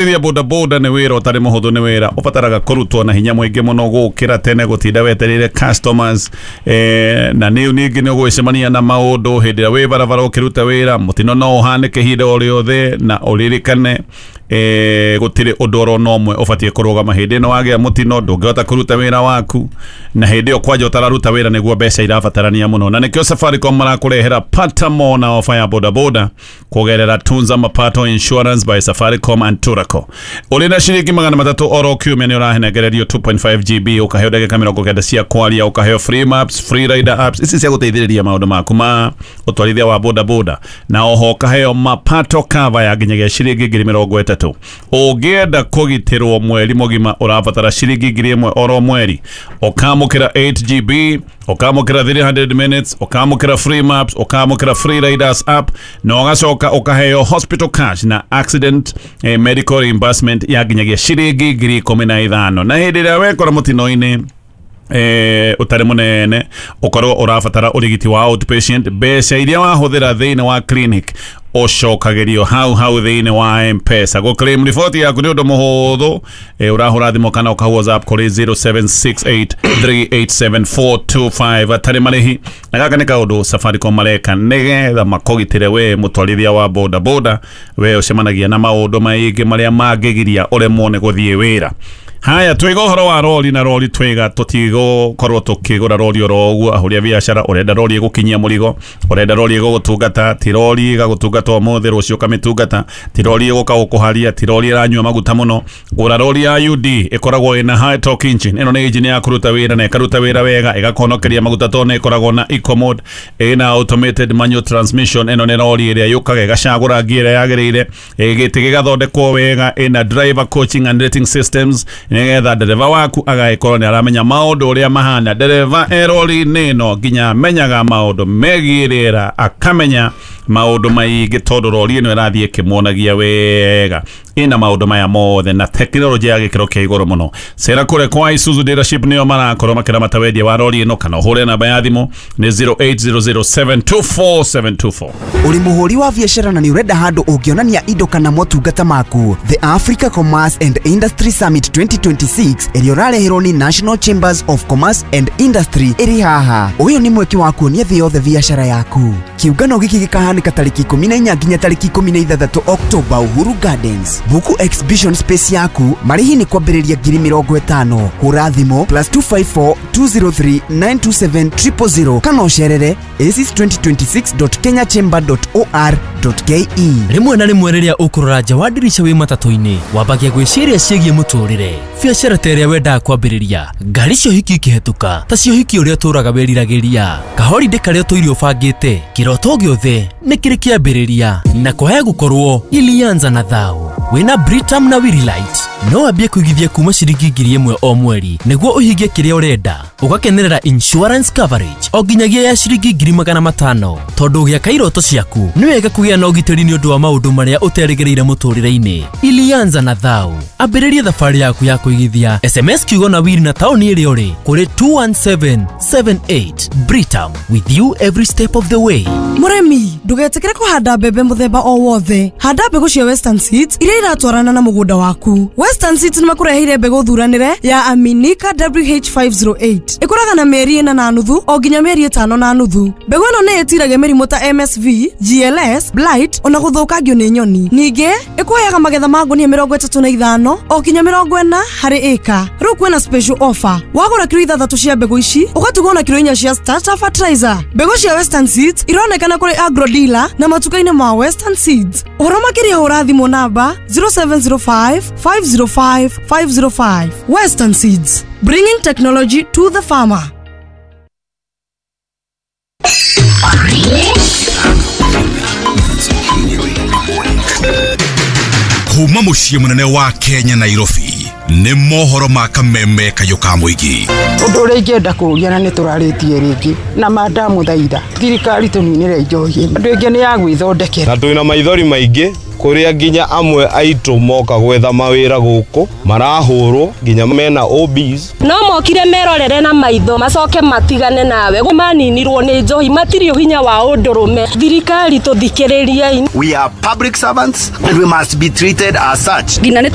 Gũtwarithia bodaboda nĩ wĩra ũtarĩ mũhũthũ, nĩ wĩra ũbataraga kũrutwo na hinya mũingĩ mũno gũkĩra tene gũtinda wetereire customers, na nĩ ningĩ nĩ ũgwĩcemania na maũndũ hĩndĩ ĩrĩa wĩ barabara ũkĩruta wĩra. Mũtino no ũhanĩke ihinda o rĩothe, na ũririkane gũtirĩ ũndũ oro na ũmwe ũbatiĩ kũrũgama. Hĩndĩ ĩno wagĩa mũtino ndũngĩhota kũruta wĩra waku, na hĩndĩ ĩyo kwanja ũtararuta wĩra nĩguo mbeca irabatarania mũno, na nĩkĩo Safaricom marakũrehera pata more na ofa ya bodaboda kũgerera Tunza Mapato Insurance by Safaricom and Turaco. Ũrĩ na ciringi 300 oro kiumia nĩ ũrahenengererio 2.5 GB, ũkaheo ndagĩka 90 cia kwaria, ũkaheo free maps, free rider apps ici cia gũteithĩrĩria maũndũ maku ma ũtwarithia wa bodaboda, na oho ũkaheo mapato cover ya nginyagia ciringi 30,000. Ũngĩenda kũgitĩrwo mweri mũgima ũrabatara ciringi 1,000 oro mweri, ũkamũkĩra 8 GB, ũkamũkĩra 300 minutes, ũkamũkĩra free maps, ũkamũkĩra free riders app, na ũgacoka ũkaheo hospital cash na accident medical reimbursement ya nginyagia ciringi 15,000. Na hĩndĩ ĩrĩa wekora mũtino-inĩ ũtarĩ mũnene ũkorwo ũrabatara ũrigiti wa outpatient, mbeca iria wahũthĩra thĩinĩ wa clinic ũcokagĩrio hau hau thĩinĩ wa M-Pesa. Gũ claim riboti yaku nĩ ũndũ mũhũthũ, ũrahũra thimũ kana ũka WhatsApp kũrĩ 0768387425 atarĩ marĩhi. Na gaka nĩ kaũndũ Safaricom mareka nĩgetha makũgitĩre we mũtwarithia wa boda boda, we ũcemanagia na maũndũ maingĩ marĩa mangĩgiria ũremwo nĩ gũthiĩ wĩra. Haya, twiga ũhoro wa rori, na rori twiga tũtigũkorwo tũkĩgũra rori oro ũguo. Ahũri a biacara, ũrenda rori ĩgũkinyia mũrigo, ũrenda rori ĩgũgũtungata, ti rori ĩgagũtungata ũmũthĩ rũciũ ũkamĩtungata, ti rori ĩgũka gũkũharia, ti rori ĩranyua maguta mũno. Gũra rori ya UD, ĩkoragwo ĩna high torque engine. Ĩno nĩ engine ya kũruta wĩra na ĩkaruta wĩra wega, ĩgakũhonokeria maguta tondũ nĩ ĩkoragwo na eco mode, ĩna automated manual transmission. Ĩno nĩ rori ĩrĩa yũkaga ĩgacagũra ngia ĩrĩa yagĩrĩire, gĩtĩ gĩgathondekwo wega, ĩna driver coaching and rating systems nĩgetha ndereba waku agagĩkorwo nĩ aramenya maũndũ ũrĩa mahana. Ndereba e rori-inĩ ĩno nginya amenyaga maũndũ megiĩ rĩera, akamenya maũndũ maingĩ tondũ rori ĩno ĩrathiĩ ĩkĩmuonagia wega. Ĩna maũndũ maya mothe na tekinoronjĩ ya gĩkĩro kĩa igũrũ mũno. Cera kũrĩa kwa Isuzu dealership, nĩo marakorwo makĩramata wendia wa rori ĩno, kana ũhũre namba ya thimũ nĩ 0800724724. Ũrĩ mũhũri wa biacara na nĩ ũrenda handũ ũngĩonania indo kana motungata maku? The Africa Commerce and Industry Summit 2026 ĩrĩa ũrareherwo nĩ National Chambers of Commerce and Industry ĩrĩ haha. Ũyũ nĩ mweke wa kuonia thĩ yothe biacara yaku. Kĩũngano gĩkĩ gĩkahanĩka tarĩki 14 nginya tarĩki 16 Oktoba, Uhuru Gardens. Book exhibition space yaku, marĩhi nĩ kwambĩrĩria 50,000. Hũra thimũ +254 203 927 000 kana ũcerere aces2026.kenyachamber.or.ke. Rĩmwe na rĩmwe rĩrĩa ũkũrora nja wa ndirica wĩ matatũ-inĩ, wambagia gwĩciria ciĩgiĩ mũtũrĩre, biacara ta ĩrĩa wendaga kwambĩrĩria, ngari cia ũhiki ikĩhetũka ta cia ũhiki ũrĩa ũtũraga wĩriragĩria, kahorindĩ karĩa ũtũire ũbangĩte. Kĩroto gĩothe nĩ kĩrĩ kĩambĩrĩria, na kwaya gũkorwo ilianza na thao. Wĩna Britam na Willight no wambie kũigithia kuma ciringi 1,000 o mweri nĩguo ũhingie kĩrĩa ũrenda, ũgakenerera insurance coverage o nginyagia ya ciringi 500,000, tondũ ũgĩaka iroto ciaku nĩ wega kũgĩa na ũgitĩri nĩ ũndũ wa maũndũ marĩa ũterĩgĩrĩire mũtũrĩre-inĩ. Ilianza na thao, ambĩrĩria thabarĩ yaku ya kũigithia. SMS kiugo na wiri na taũni ĩrĩa ũrĩ kũrĩ 21778. Britam, with you every step of the way. Mũrĩmi, ndũgetĩkĩre kũhanda mbembe mũthemba o wothe. Handa mbegũ cia Western Seeds iria iratwarana na mũgũnda waku. Western Seeds nĩ makũreheire mbegũ thuranĩre ya Aminika WH508. Ĩkũraga na mĩeri 4.5 o nginya mĩeri 5.5. Mbegũ ĩno nĩ ĩtiragia mĩrimũ ta MSV, GLS, blight ona gũthũkangio nĩ nyoni. Ningĩ ĩkũheaga magetha ma ngũnia 35 o nginya 40 harĩ ĩka. Rĩu kwĩna special offer: wagũra kiro 6 cia mbegũ ici ũgatugwo na kiro 4 cia starter fertilizer. Mbegũ cia Western Seeds ironekana kũrĩ agro dealer na matuka-inĩ ma Western Seeds. Ũhoro makĩria hũra thimũ namba 0705 505 505. Western Seeds, bringing technology to the farmer. Kuma mũciĩ mũnene wa Kenya, Nairobi, nĩ mohoro ma kameme kayũ ka mũingĩ. Ũndũ ũrĩa ingĩenda kũũria, na nĩ tũrarĩtie rĩngĩ na mandamũthaitha thirikari tũninĩre njohi, andũ aingĩ nĩ ya gwĩthondekera. Na twĩna maithori maingĩ. Kũrĩa nginya amwe aitũ moka gwetha mawĩra gũkũ marahũrwo nginya mena OBs. No mokire merorere na maitho macoke matigane nawe. Maninirwo nĩ njohi, matirĩ hinya wa ũndũrũme. Thirikari tũthikĩrĩriei. We are public servants and we must be treated as such. Nginya nĩ